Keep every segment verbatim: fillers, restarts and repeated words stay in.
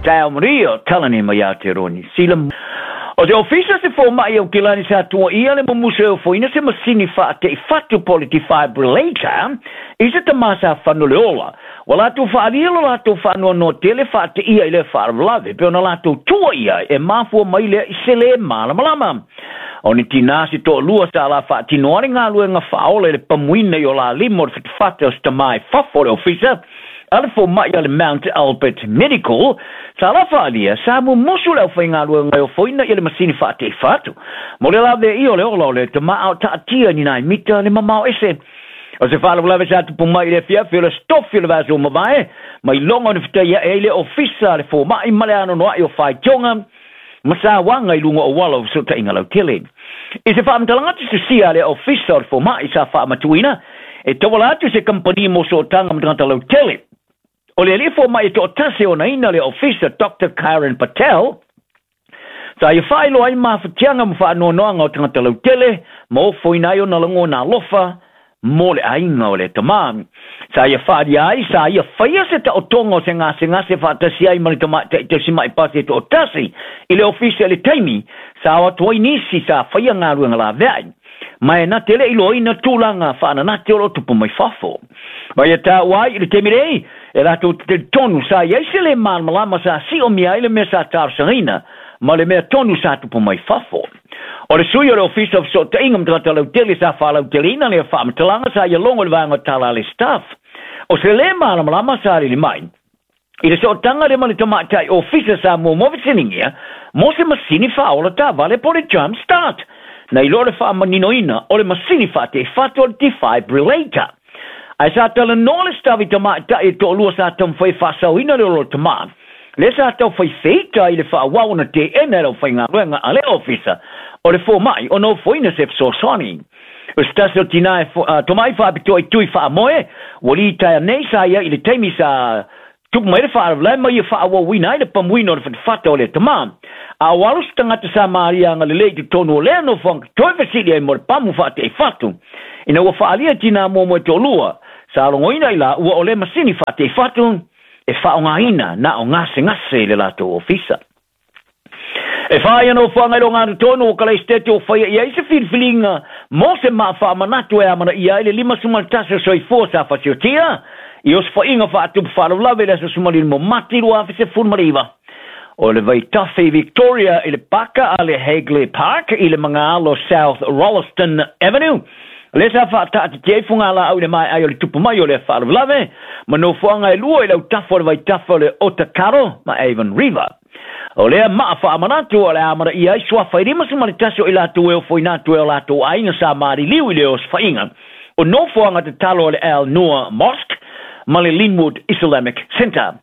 Taeao manuia, talani mai Aotearoa Niu Sila. O te ofisa se fōma'i o Kilani sa tuaia le mumusu e ofoina se masini faateʻifatu po o le defibrillator i se tamā sa fano le ola. Ua latou faaalia lo latou faanoanoa tele faateia i lea faalavelave pe ona latou tuaia e mafua mai lea i se lē malamalama. O ni tinā se toalua sa la faatino ai le galuega faaola i le pamuina i o la lima o le fatafata o se tamā i fafo o le ofisa a le fomaʻi a le Mount Albert Medical sa la faaalia sa mumusu le aufaigaluega e ofoina ia le masini faateʻifatu mo le laveia o le ola o le tamā a o taatia ni nai mita le mamao ese. O se faalavelave sa tupu mai i le afiafi o le tofi o le vaiaso ua mavae mai loga o ni fetaiaʻi ai le ofisa a le fomaʻi ma le anoanoaʻi o faitioga ma sauaga i luga o auala o fesootaiga lautele. I se faamatalaga tusitusia a le ofisa o le fomaʻi sa faamatuina e tauala atu se kamupani mo sootaga ma tagata lautele. O le alii fomaʻi e toʻatasi e onaina le ofisa Doctor Karen Patel sa ia faailoa ai mafatiaga ma faanoanoaga o tagata lautele ma ofoina ai ona lagona alofa mo le aiga o le tamā. Sa ia faaalia ai sa ia faia se taotoga o se gasegase faatasi ai ma le tamaitai tausimaʻi pasi e toʻatasi i le ofisa i le taimi sa o atu ai nisi sa faia galuega laveai ma e na te leʻi loaina tulaga faananate o loo tupu mai fafo. Ma ia taua ai i le taimi nei e latou te talitonu sa iai se lē malamalama sa siomia ai le mea sa talosagaina ma le mea tonu sa tupu mai fafo. O le sui o le ofisa o fesootaiga ma tagata lautele sa faalauteleina lea faamatalaga sa ia logo i le vaega o tala a le staff. O se lē malamalama sa alili mai i le sootaga lea ma le tamaitai ofisa sa muamua fesiligia mo se masini faaola taavale po o le jump start na iloa le faamaninoina o le masini faateʻifatu o le defibrillator. Ae sa talanoa le staff i tamaitai e toalua sa taumafai e faasaoina le ola o le tamā lea sa taufai feita i le faaauau ona teena e le aufaigaluega a le ofisa o le fomaʻi ona ofoina se fesoasoani. O se tasi o tinā e tomai faapitoa i tui faamoe ua litaea nei sa ia i le taimi sa tupu mai le faalavelave ma ia faaauauina ai le pamuina o le fatafata o le tamā. A o alo se tagata sa malia agalelei i totonu o lea nofoaga toe fesili ai mo le pamu faateʻifatu. Ina ua faaalia tinā muamua e toalua sa logoina i laua o le masini faateʻifatu e faaaogaina na o gasegase i le latou ofisa. E whā ia nofoaga i loga tonu o Kalaistete o whaia i ai se filifiliga mo se maafaamanatu e amanaia ai le lima sefulumaga tasi o soifua sa fasiotia i osofaiga faatupu faalavelave i le aso sumalima o Mati lua afe sefulu ma le iva. O le vaitafe i Victoria i le paka a le Hagley Park i le magaalo South Rolleston Avenue lea sa faataatitia ai fugalaau i le maeai o le tupu mai o lea faalavelave ma nofoaga e lua i le autafa o le vaitafe o le Otakaro ma Avon River. O lea maa faamanatu o le amanaia ai suafa e lima sefulu ma le tasi o i latou e ofoina atu e o latou aiga sa maliliu i le osofaiga o nofoaga tatalo o le Al Noor Mosque ma le Linwood Islamic Centre.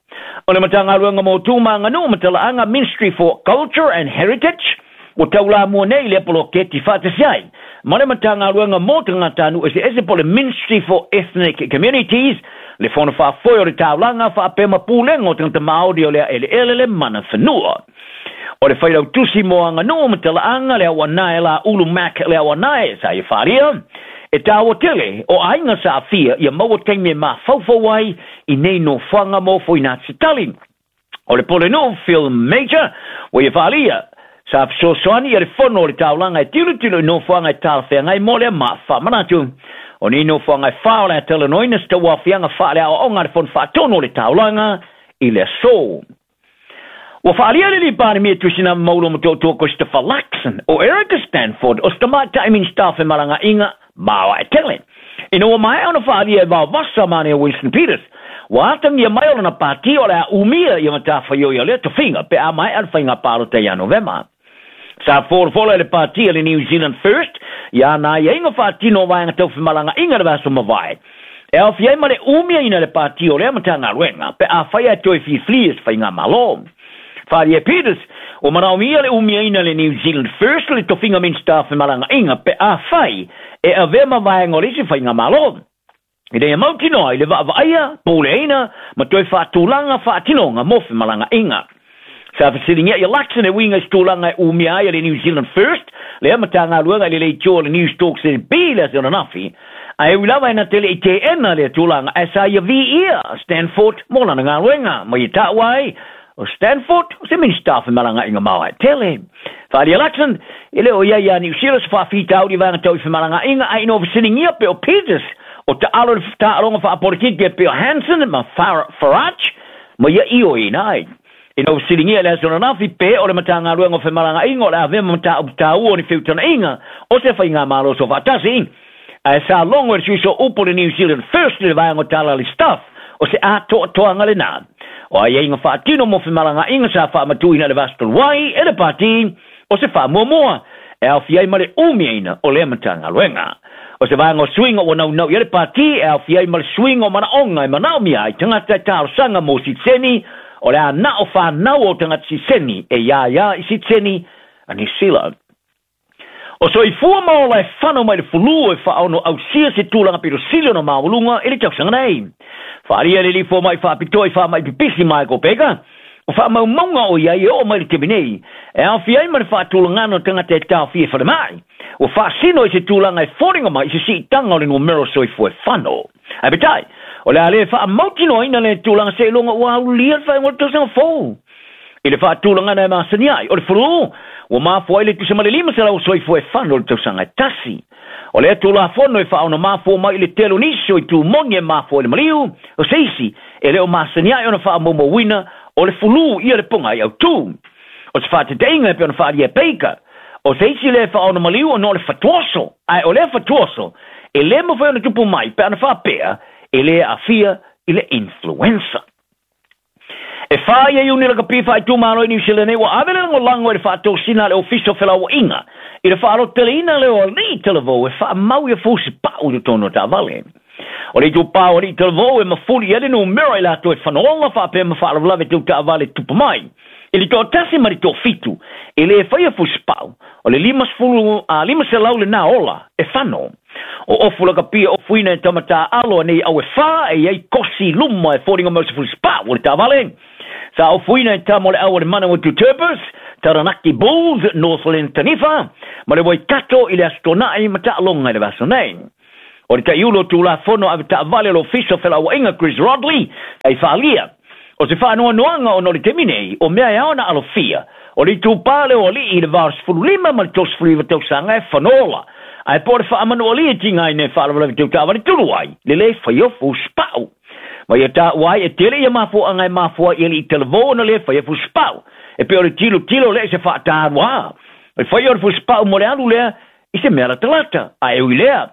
O le Matagaluega mo Tu ma Aganuu ma Talaaga, Ministry for Culture and Heritage, ua taulamua nei i lea poloketi faatasi ai ma le Matagaluega mo Tagatanuu Eseese po o le Ministry for Ethnic Communities, le Fono Faafoe o le Taulaga faapea ma Pulega o Tagata Maori o le Aeleele le Mana Fanua. O le Failautusi mo Aganuu ma Talaaga, le Auanae La Ulu Mac le Auanae sa ia faaalia e taua tele o aiga sa aafia ia maua taimi e mafaufau ai i nei nofoaga mo ofoina atu se tali. O le Pulenuu Phil Major ua ia faaalia sa fesoasoani ia le fono o le taulaga e tilotilo i nofoaga e talafeagai mo lea maafaamanatu. O nei nofoaga e whā o le a talanoaina se tauaofiaga faaleaoaoga a le Fono Faatonu o le Taulaga i le aso. Ua faaalia le alii Palemia Tuisinama Maulo Motootua Christopher Luxon o Erica Stanford o se tamaitai Minisita o Femalagaaiga maoae tele. Ina ua maea ona faaalia e vaovasa mane o Winston Peters, ua atagia mai o lana pati o le a umia ia matafaioi o lea tofiga pe a maea le faiga palota ia Novema. Sa folafola e le pati a le New Zealand First ia ana aiaiga faatino o vaega tau femalagaaiga le vaiaso mavae. E aofia ai ma le umiaina le pati o lea Matagaluega pe afai ae toe filifili e se faigamalo. Faaalia e Peters, ua manaomia le umiaina le New Zealand First le tofiga Minisita o Femalagaaiga pe afai e avea ma vaega o le isi faigamalo. Ina ia mautinoa i le vaavaaia, puleaina ma toe faatulaga faatinoga mo femalagaaiga. Sa fesiligia ia Luxon e uiga i se tulaga e umia ai e le New Zealand First lea Matagaluega i le leitio o le Newstalk Z B le aso ananafi, ae ui lava e na te leʻi teena lea tulaga ae sa ia viia Stanford mo lana galuega ma ia taua ai O Stanford, o se Minista o Femalagaaiga ma Aoai Tele. Faaalia Luxon, e le o ia ia Niu Sila se faafitauli vaega tau i femalagaaiga ae ina ua fesiligia pe o Peters o taalo i le taaloga faapolitiki e pei o Hanson ma Farage ma ia ioeina ai. Ina ua fesiligia i le aso ananafi pe o le Matagaluega o Femalagaaiga o le avea ma mataupu taua o ni feutagaiga o se faigamalo soofaatasi, ae sa logo e le sui upu o le New Zealand First i le vaega o tala a le Stuff o se atoatoaga lenā o aiaiga faatino mo femalagaaiga sa faamatuina i le vaaso talu ai e le Pati o se faamuamua e aofia ai ma le umiaina o lea Matagaluega. O se vaega o suiga ua naunau i ai le Pati e aofia ai ma le suiga o manaoga e manaomia ai tagata e talosaga mo sitiseni o le a na o fanau o tagata sitiseni e ia ia i sitiseni a Niu Sila. O soifua ma ola e fano mai le fulu e faaono ausia se tulaga pito sili ona maualuga i le tausaga nei. Faaalia le lifo mai faapitoa i faamai pipisi Michael Baker, o faamaumauga o iai e oo mai le taimi nei, e aofia ai ma le faatulagana o tagata e taofia i falemai, ua faasino i se tulaga e foliga mai i se siitaga o le numera soifua e fano. Ae peitai, o le a le faamautinoaina le tulaga seiloga ua aulia le faaiuga o le tausaga fou. I le faatulagana e masani ai, o le fulu, ua mafua ai le tusa ma le lima selau soifua e fano o le tausaga e tasi. O lea tulafono e faaono mafua mai i le tele o nisi o itu moni e mafua i le maliu, o se isi e le o masani ai ona faamaumauina o le fulu ia le pogai autū. O se faataitaiga e pei ona faaalia e Baker, o se isi lea e faaono maliu ona o le fatuoso, ae o lea fatuoso e le mafai ona tupu mai pe ana faapea e le aafia i le influenza. E whā ia Iuni lakapi faaitumalo i Niu Sila nei ua ave le lagolago i le faatosina a le Ofisa o Felauaiga i le faaloteleina lea o alii talavou e faamau ia fusipau i totonu o taavale. O le itupā o alii talavou e mafuli i ai le numera i latou e fanoga faapea ma faalavelave tau taavale tupu mai. I le toatasi ma le toafitu e le faia fusipau, o le limasefulu a lima selau lenā ola e fano. O ofu lakapi e ofuina e tamatā alo a nei au e whā e iai kosi luma e foliga mai o se fusipau o le taavale. Sa ofuina e tama o le au o le Manawatu Turbos, Taranaki Bulls, Northland Taniwha, ma le Waikato i le aso Tona'i ma taaloga i le vaaso nei. O le taiulu o Tulafono ave taavale o le Ofisa o Felauaiga Chris Rodley ai faaalia. O se faanoanoaga ona o le taimi nei, o mea e ao ona alofia, o le itupā lea o alii i le va o le sefulu lima ma le tolusefulu iva tausaga e fanola. Ae po o le faamanualia e tigaina e faalavelave tau taavale tulu ai, le le faia o fusipau. Ma ia taua ai e tele ia mafuaaga e mafua ai i alii talavou ona le faia fusipau. E pei o le tilotilo lea i se faataluā. O le faia o le fusipau mo le alu lea i se mea latalata. Ae ui lea,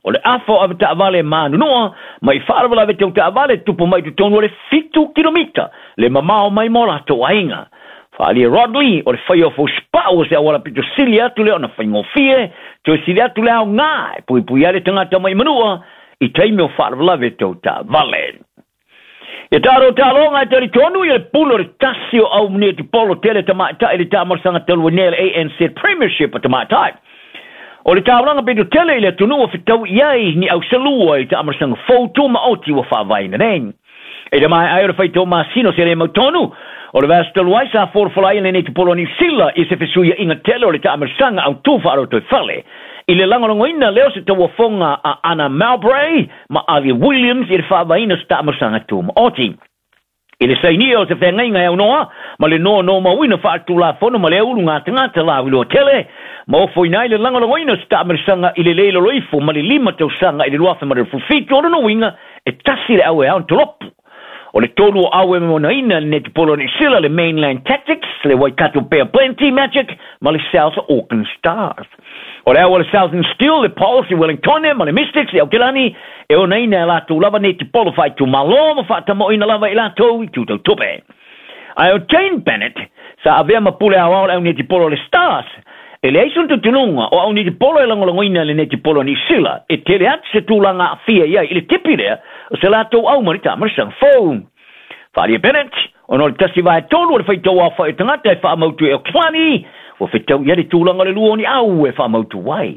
o le afa o ave taavale e manunua, ma i faalavelave tau taavale tupu mai totonu o le fitu kilomita le mamao mai ma o latou aiga. Faaalia Rodley, o le faia o fusipau o se auala pito sili atu lea ona faigofie, toe sili atu le aoga e puipui ai le tagata mai manua i taimi o faalavelave tau taavale. Ia tatou taaloga e talitonu ia le pule o le tasi o au mania tipolo tele tamaitai i le taamalosaga talu ai nei le A N Z Premiership a tamaitai. O le taulaga pito tele i le atunuu o fetau i ai ni auselua i le taamalosaga fou tumaoti ua faavaeina nei. E le mae ai o le faitau masina o se le mautonu, o le vaaso talu ai sa folafola ai lenei tipolo a Niu Sila i se fesuiaiga tele o le taamalosaga autū faarotoifale. I le lagolagoina lea o se tauafoga a Anna Mowbray ma Alia Williams i le faavaeina o se taamalosaga tumaoti. I le sainia o se feagaiga e aunoa ma le nonomauina faaletulafono ma le aulu gatagata lauiloa tele, ma ofoina ai le lagolagoina o se taamalosaga i le le loloifo ma le lima tausaga i le luafe ma le fufitu o lona uiga e tasi le au e ao ona tolopu. O le tolu o au e monaina le netipolo o Niu Sila, le Mainland Tactics, le Waikato Bay of Plenty Magic ma le South Auckland Stars. O le au o le Southern Steel, le Pulse i Wellingtone ma le Mystics i Aotearoa e onaina e latou lava netipolo faaitumalo ma faatamoina lava i latou i tutautupe. Ae o Jane Bennett sa avea ma pule aoao le au netipolo o le Stars. E leai sona talitonuga o au netipolo e lagolagoina le netipolo a Niu Sila e tele atu se tulaga aafia i ai i le tipi lea o se latou au ma le taamalosaga fou. Faaalia Bennett, ona o le tasi vae tolu o le faitau aofai o tagata e faamautu e Auckland, ua fetau i ai le tulaga o le lua o ni au e faamautu ai.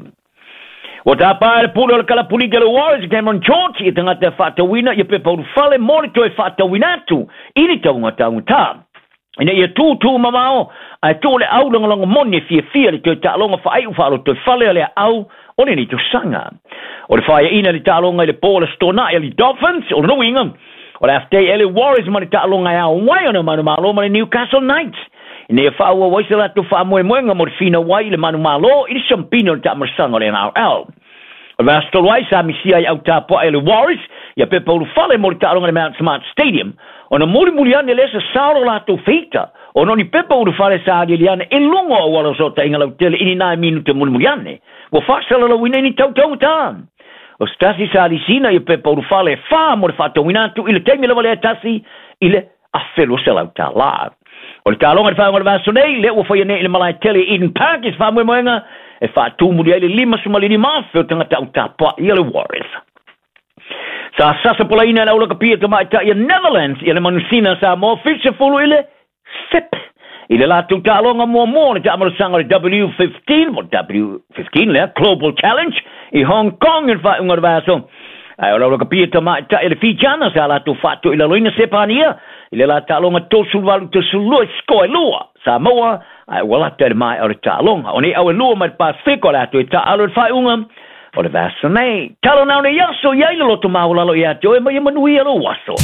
Ua tapā e le pule o le kalapulita le Warriors Cameron George i tagata e faatauina ia pepa ulufale mo le toe faatauina atu i le tauga taugata. Ina ia tūtū mamao, ae tō le au lagolago moni e fiafia le toe taaloga faaiu faalotoifale a le au o lenei tausaga. O le faaiaina le taaloga i le po o le Aso Toonai a le Dolphins, o lona uiga, O le aftei ele Warriors ma le taaloga e ao ai ona manumalo ma le Newcastle Knights ina ia faaauau ai se latou faamoemoega mo le finau ai i le manumalo i le siampina o le taamalosaga o le N R L. O le vaiaso talu ai sa misia ai autapuaʻe e le Warriors ia pepa ulufale mo le taaloga i le Mount Smart Stadium ona mulimuli ane lea sasao lo latou feita ona o ni pepa ulufale sa aliali ane i luga o auala o sootaiga lautele i ni nai minute mulimuli ane ua faasalalauina i ni tautaugatā. O se tasi sa lisina ia pepa ulufale e whā mo le whaatauina atu i le taimi lava lea tasi i le afe lua selau tālā. O le taaloga i le faaiuga o le vaiaso nei, lea ua faia nei i le malae tele i Eden Park i se faamoemoega e faatumuli ai le limasefulumalima afe o tagata autapuaʻi a le Warriors. Sa sasa polaina e le aulakapia tamaitai a Netherlands ia le manusina Samoa fitusefulu i le sepe i le latou taaloga muamua o le taamalosaga o le W fifteen, po W fifteen lea, Global Challenge i Hong Kong i le faaiuga o le vaiaso. Ae o le aulakapia tamaitai a le Fijiana sa latou faatoilaloina Sepania i le la taaloga tolusefuluvalu tolusefululua i sikoa e lua Samoa, ae ua lata i le maea o le taaloga. O nei au e lua mai le Pasifika o le atu e taaalo i le faaiuga o le vaiaso nei. Talo nao nei aso i ai le loto maualalo ia te oe mai e manuia lou aso.